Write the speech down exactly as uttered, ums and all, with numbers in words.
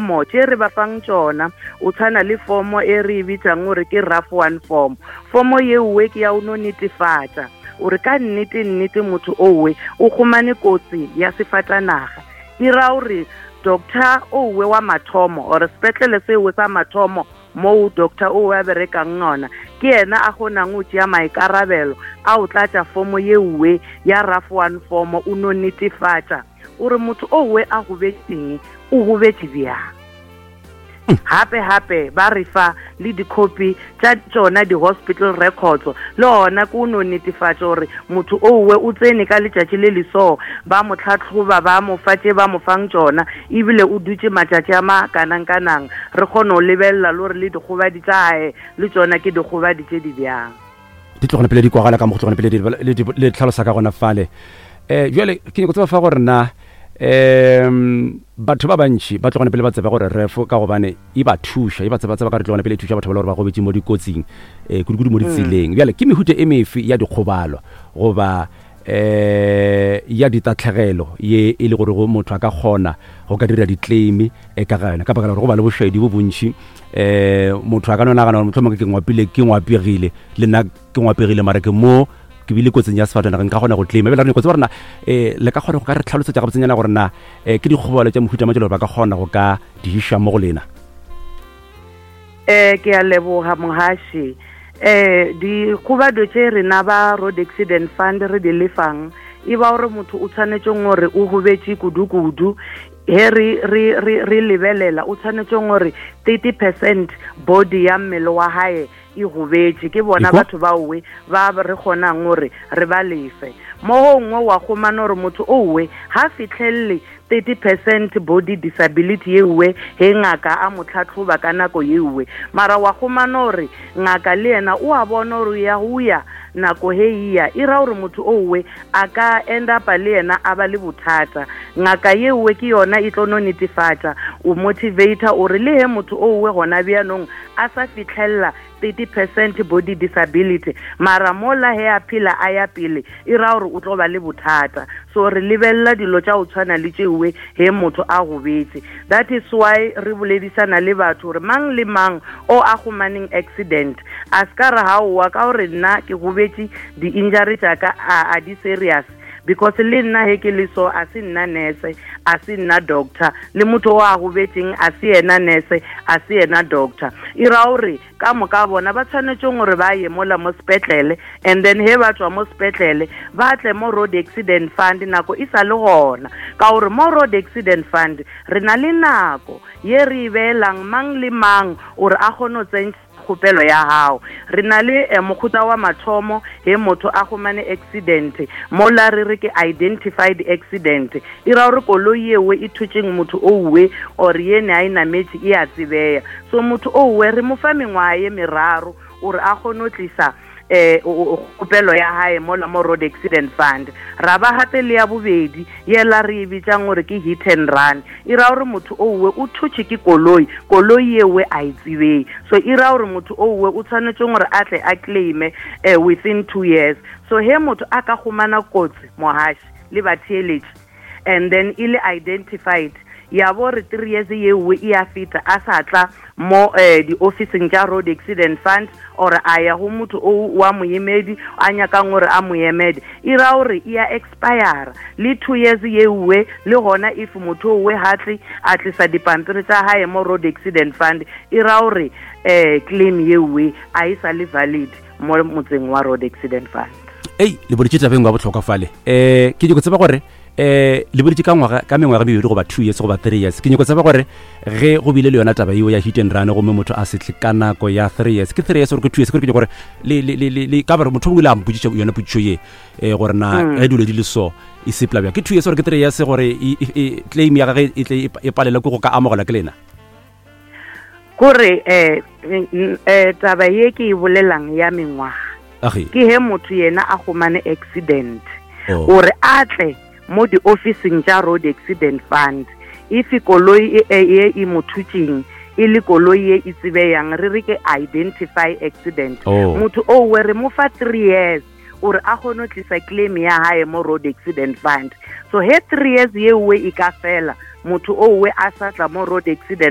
Mo tše re ba fang tšona o tshwana le fomo e re e bitsang gore ke RAF one form. Fomo yeuwe ke ya o no netefatša gore ka nnete nnete motho owe o humane kotsi ya sefatanaga. E ra gore doctor owe wa mathomo or sepetlele sewe sa mathomo moo doctor owe a berekang yona ke yena a kgonang go tšea maikarabelo a o tlatša fomo yeuwe ya RAF one form, o no netefatša gore motho owe a gobetseng o gobetše bjang. Hape hape ba re fa le dikhopi tša tšona di-hospital records, le gona ke o no netefatša gore motho owe o tsene ka letšatši le le so, ba mo tlhatlhoba, ba mo fa tše ba mo fang tšona, ebile o dutše matšatši a makanang-kanang. Re kgone go lebelela le gore le dikgobadi tša gae le tšona ke dikgobadi tše di bjang. Di tlogone pele di kwagala ka mo go tlogone pele di le tlhalosa ka gona fale. Um jale ke nyako tseba fa gore na um batho ba bantši ba tlogone pele ba tseba gore refo ka gobane e ba thuša, e ba tseba tseba ka re tlogone pele e thuša batho ba le gore ba gobetše mo dikotsing, um kudu-kudu mo ditseleng. Bjale ke mehuta e mefe ya dikgobalo goba um ya ditatlhegelo ye e le gore go motho a ka kgona go ka dira di-claim ka ga yona, ka baka la gore go ba le bošaedi bo bontši? Um motho a ka no nagana gore mohlomongwe ke ngwapile, ke ngwapegile le nna ke ngwapegile, mara ke mo ke bile kotsing ya sefatanaga, nka kgona go claima. Ebile re nyako tseba gore na um le ka kgona go ka re tlhalosetša gabotsenyana gore na um ke dikgobalo tša mohuta mang tše le gore ba ka kgona go ka di iša mo go lena? Um ke a leboga mohaši. Um dikgobado tše rena ba Road Accident Fund re di lefang e ba gore motho o tshwanetseng gore o gobetše kudu-kudu. He re re re re lebelela o tshwanetseng gore thirty percent body ya mmele wa hae e gobetše, ke bona batho ba owe ba re kgonang gore re ba lefe. Mo gongwe wa humana gore motho owe ha fitlhelele thirty percent body disability yeuwe he ngaka a mo tlhatlhoba ka nako yeuwe, mara wa humana gore ngaka le yena o a bona gore ya go ya nako he iya e ra gore motho owe a ka end up le yena a ba le bothata. Ngaka yeuwe ke yona e tlo no netefatša o motivator ore le he motho owe gona bjanong a sa fitlhelela thirty percent body disability, mara mola he a phela a ya pele e ra gore o tlo ba le bothata. So re lebelela dilo tša go tshwana le tšewe he motho a gobetse. That is why re boledisana le batho gore mang le mang o a humaneng accident a se ka re gaowa ka gore nna ke gobetše, di-injury tša ka a di serious, because le nna he ke le so a se nna nurse, a se nna doctor, le motho o a gobetseng a se yena nurse, a se yena doctor. E ra gore ka moka bona ba tshwanetseng gore ba ye mola mo sepetlele, and then he ba tswa mo sepetlele ba tle mo Road Accident Fund nako e sa le gona, ka gore mo Road Accident Fund re na le nako ye re e beelang mang le mang gore a kgone go tsentšha kgopelo ya gago. Re na le eh, mokgotsa wa mathomo he motho a humane accident, mola re re ke identified accident, e ra gore koloi ewe e thotšeng motho owe or ye ne a e nametše e a tsebeya. So motho owe re mo fa mengwaga ye meraro gore a kgone go tlisa eh kgopelo ya hae mola mo Road Accident Fund. Ra ba gape le ya bobedi yela re e bitsang gore ke hit and run, e ra gore motho owe o thotše ke koloi, koloi ewe a e tsebei. So e ra gore motho owe o tshwanetse gore a tle a claime eh, within two years. So he motho a ka humana kotsi mohaši le batheeletši and then e le identified, ya bo re three years yewe e a feta a sa tla mo eh, di-officing tša Road Accident Fund or a ya go motho o wa moemedi a nyakang gore a mo emede, e ra gore e ya expire le two years yewe. Le gona if motho owe hatle a tlisa dipampiri tša hae mo Road Accident Fund, e ra gore eh claim yewe a e sa le valid mo motseng wa Road Accident Fund. Ei, le boditše tabeng wa bohlokwa fale. Um ke nyako tseba gore um le boditše ka ngwaga ka mengwaga mebedi goba two years goba three years. Ke nyako tseba gore ge go bile le yona taba eo ya hit and run gomme motho a setle ka nako ya three years, ke three years gore ke two years? Kore ke nyako gore le le le le ka gore motho o ile a mpotšiša yona potšišo ye um gore na ge dilo di le so e sepela bjang, ke two years gore ke three years gore claim ya gage e tle e palelwe ke go ka amogelwa ke lena? Kore eh eh taba ye ke e bolelang ya mengwaga ke he motho yena a humane accident gore a tle mo di-officing tša Road Accident Fund, if koloi e e mo thutšeng e le koloi ye e tsebeyang, re re ke identify accident, motho owe re mo fa three years gore a kgone go tlisa claim ya hae mo Road Accident Fund. So he three years yewe e ka fela, Motho owe a sa tla mo Road Accident.